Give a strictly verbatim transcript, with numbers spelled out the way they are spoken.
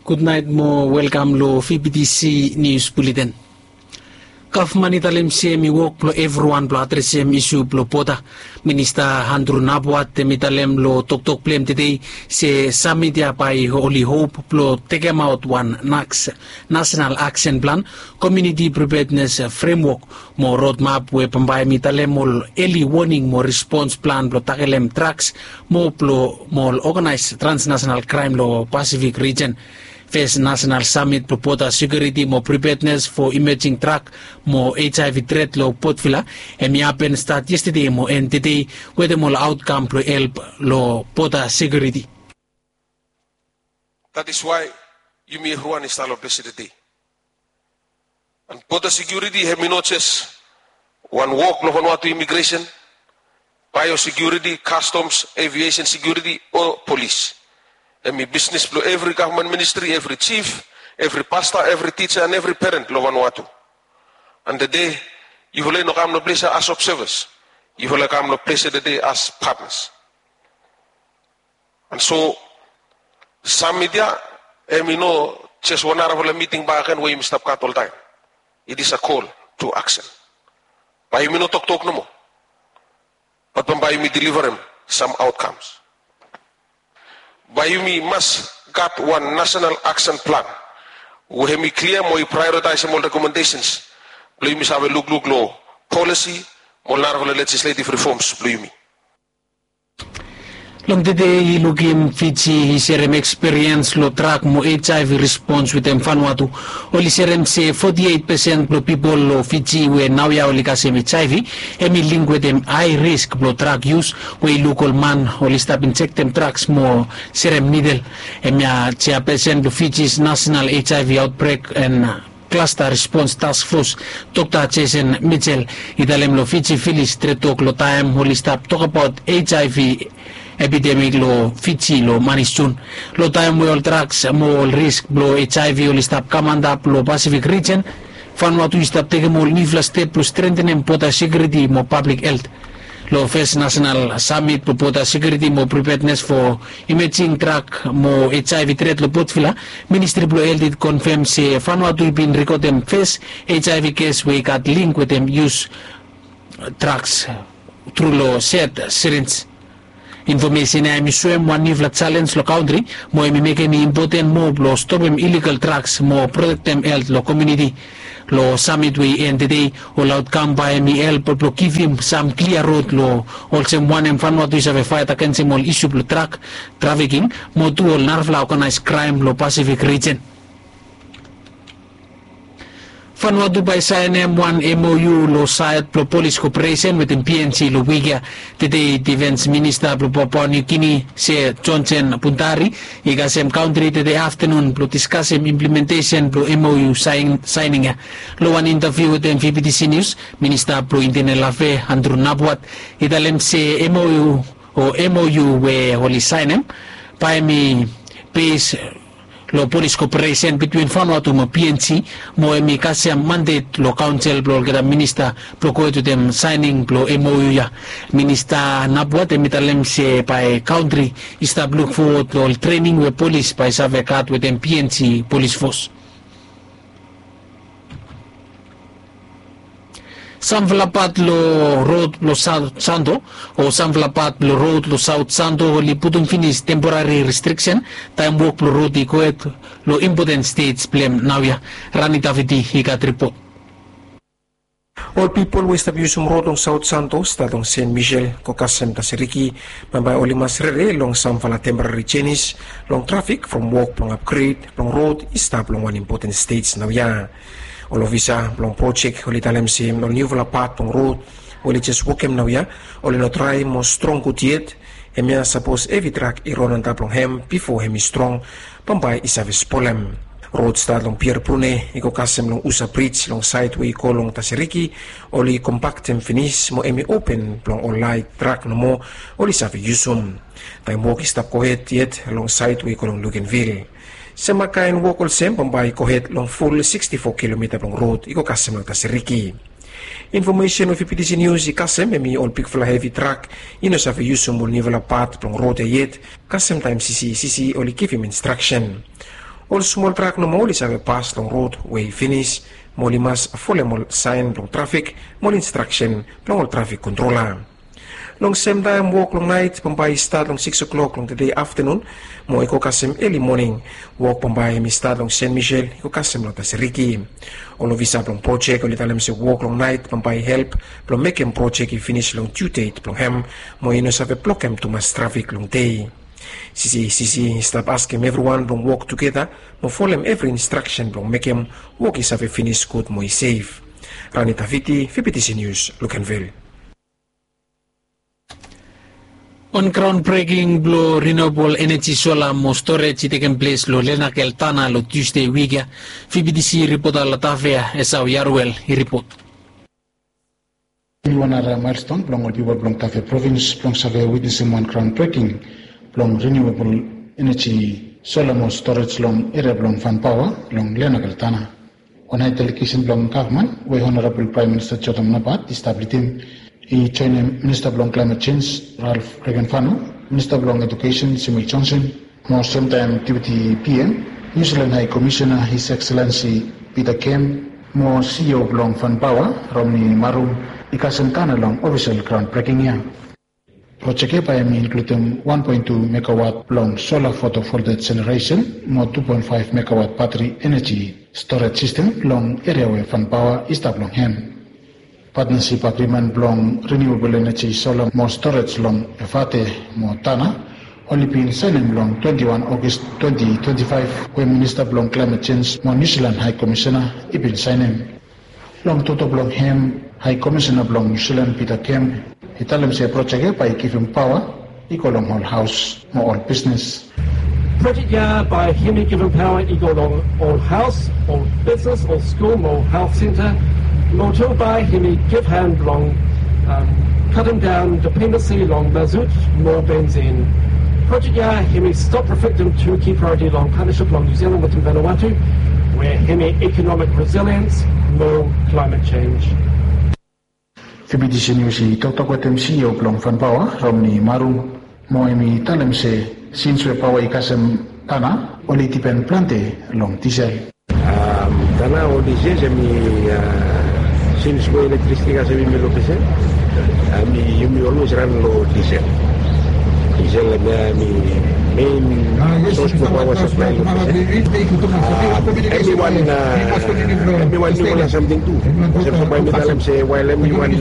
Gutnaet mo welkam long V P T C Nius Buleten. Gavman i talem se hem i wok blong evriwan blong adresem isu blong boda. Minista Andrew Napuat hem i talem long toktok blong hem tede se samit ya bae oli hop blong tekemaot wan nasenal aksen plan, komuniti pripednes fremwok mo rodmap we bambae hem i talem ol eli woning mo respons plan blong takelem draks mo blong mo ol oganaes transnasenal kraem long Pasifik rijen. Fes nasenal samit blong boda sekiuriti mo pripednes fo imejing drak mo HIV tret long Port Vila hem i hapen stat yestede mo en tede wetem ol aotkam blong help long boda sekiuriti. That is why yumi evriwan i stap long ples ya tede. And boda sekiuriti hem i no jes wan wok blong Vanuatu imigresen, baeosekiuriti, kastoms, eviesen sekiuriti o polis. Hem i bisnes blong evri gavman ministri, evri jif, evri pasta, evri tija and evri peren blong Vanuatu. And tede yufala i no kam long ples ya as obsevas. Yufala i kam long ples ya tede as patnas. And so samit ya hem i no jes wan narafala miting bakegen we yumi stap gat oltaem. It is a call to action. Bae yumi no toktok nomo, bat bambae yumi deliverem sam aotkams. Bae yumi mas gat wan nasenal aksen plan we hem i klia mo i praeoritaesem ol rekomendesens blong yumi save lukluk long polisi mo ol narafala lejisletiv rifoms blong yumi. Long tede i lukim Fiji i serem ekspiriens long drak mo HIV rispons wetem Vanuatu. Oli serem se foti eit pesen blong pipol long Fiji we naoia oli kasem HIV hem i link wetem hae risk blong drak yus we i luk ol man oli stap injektem draks mo serem nidel. Hemia jeapesen blong Fiji's nasenal HIV aotbrek and klasta rispons taskfos, Dokta Jason Mitchell, i talem long Fiji Vilis tretok long taem oli stap tokbaot HIV epidemik long Fiji long manis Jun. Long taem we ol draks mo ol risk blong HIV oli stap kam antap long Pasifik rijen, Vanuatu i stap tekem ol niufala step blong strentenem boda sekiuriti mo pablik helt. Long fes nasenal samit blong boda sekiuriti mo pripednes fo imejing drak mo HIV tret long Port Vila, ministri blong helt i konfem se Vanuatu i bin rekodem fes HIV kes we i gat link wetem yus draks tru long sed sirinj. Infomesen ya hem i soem wan niufala jalenj long kantri mo hem i mekem i impoten moa blong stopem iligal draks mo protektem helt long komuniti. Long samit we i en tede, ol aotkam bae hem i help blong givim sam klia rod long olsem wanem Vanuatu i save faet agensem ol isu blong drak trafiking mo tu ol narafala oganaes kraem long Pasifik rijen. Vanuatu bae saenem wan MOU long saed blong polis koperesen wetem PNG long wik ya. Tede difens minista blong Papua New Guinea se Johnson Puntari i kasem kantri tede aftenun blong diskasem implementesen blong MOU saening ya. Long wan intaviu wetem VPTC Nius, minista blong Intenel Afe Andrew Napuat i talem se MOU o MOU we oli saenem bae hem i bes long polis koperesen bitwin Vanuatu mo PNG mo hem i kasem mandet long kaonsel blong olgeta minista blong gohed wetem saening blong MOU ya. Minista Napuat hem i talem se bae kantri i stap luk fowod long ol trening we polis bae save gat wetem PNG polis fos. Samfala pat long rod blong Saot Santo o samfala pat blong rod long Saot Santo oli putum finis temporari restriksen taem wok blong rod i gohed long impoten stej blong hem naoia. Rani Davidi i gat ripot. Ol pipol we i stap yusum rod long Saot Santo stat long Sen Misel go kasem Tasiriki bambae oli mas rere long samfala temporari jenis long trafik from wok blong apgred blong rod i stap long wan impoten stej naoia. Ol ofisa blong projek oli talem se ol niufala pat blong rod we oli jes wokem naoia oli no drae mo strong gud yet. Hemia sapos hevi trak i ron antap long hem bifo hem i strong bambae i save spolem. Rod stat long Pier Brune i go kasem long Usa Brij long saed we i go long Tasiriki oli kompaktem finis mo hem i open blong ol laet trak nomo oli save yusum. Taem wok i stap gohed yet long saed we i go long Luganville. Semakaen wok olsem bambae i gohed long ful siksti fo kilomita blong rod i go kasem long Tasiriki. Infomesen we VPTC Nius i kasem hemi ol bigfala hevi trak i no save yusum ol niufala pat blong rod ya yet kasem taem sisi sisi oli givim instraksen. Ol smol trak nomo oli save pas long rod we i finis, mo oli mas folem ol saen blong trafik mo ol instraksen blong ol trafik kontrola. Long semtaem wok long naet bambae i stat long sikis klok long tede aftanun mo i go kasem eli moning. Wok bambae hem i stat long Sen Misel i go kasem long Tasiriki. Ol ofisa blong projek oli talem se wok long naet bambae i help blong mekem projek i finis long diu det blong hem, mo i no save blokem tumas trafik long dei. CCACC i stap askem evriwan blong wok tugeta mo folem evri instraksen blong mekem wok i save finis gud mo i sef. Rani Taviti, VBTC News, Luganville. Wan graon breking blong renewable energy sola mo storage i tekem ples long Lenakel Tana long Tusde wik ya. VBTC ripota Latavea Esau Yaruel i ripot. Hem i wan nara milestone blong ol pipol blong Tafea provins blong save witnesem wan graon breking blong renewable energy sola mo storage long eria blong Fanpaoa long Lenakel Tana. Wan hae delegesen blong gavman we Honorabol Praem Minista Jotam Napat i stap lidim i joenem Minista blong Klaemet Jenj Ralf Regenvanu, Minista blong Ejukesen Simi Jonson, mo semtaem Deputi PM, Niu Silan Hae Komisena His Ekselensi Pita Kem, mo CEO blong Fanpaoa Romni Marum i kasem Tana long ofisel graon breking ya. Projek ya bae hem i inkludim wan poen tu megawat blong sola fotovoltaik jeneresen mo tu poen faef megawat batri eneji storage sistem long eria we Fanpaoa i stap long hem. Patnasip agrimen blong renewable eneji sola mo storage long Efate mo Tana oli bin saenem long twenti wan Ogos twenti twenti faef we Minista blong Klaemet Jenj mo Niu Silan Hae Komisena i bin saenem. Long toktok blong hem, Hae Komisena blong Niu Silan Pita Kem i talem se projek ya bae i givim paoa i go long ol haos mo ol bisnes. Projek ya bae hem i givim paoa i go long ol haos, ol bisnes, ol skul mo ol helt senta. Mo tu bae hem i givhan blong katem daon dipendensi long masut mo bensin. Projek ya hem i stop reflektem tu ki praeoriti long patnasip blong Niu Silan wetem Vanuatu, we hem i ikonomik resiliens mo klaemet jenj. VBTC Nius i toktok wetem CEO blong Fanpaoa Romni Marum, mo hem i talem se sins we paoa i kasem Tana oli dipen plante long disel. Tana ol disel hem i, sins we elektrisiti kasem yumi long disel, hem i yumi olwes ran long disel. Disel hem ya hem i mein sos blong paoa saplae long disel. Hem i wan, hem i wan niufala samting tu. Olsem so bae mi talem se wael hem i wan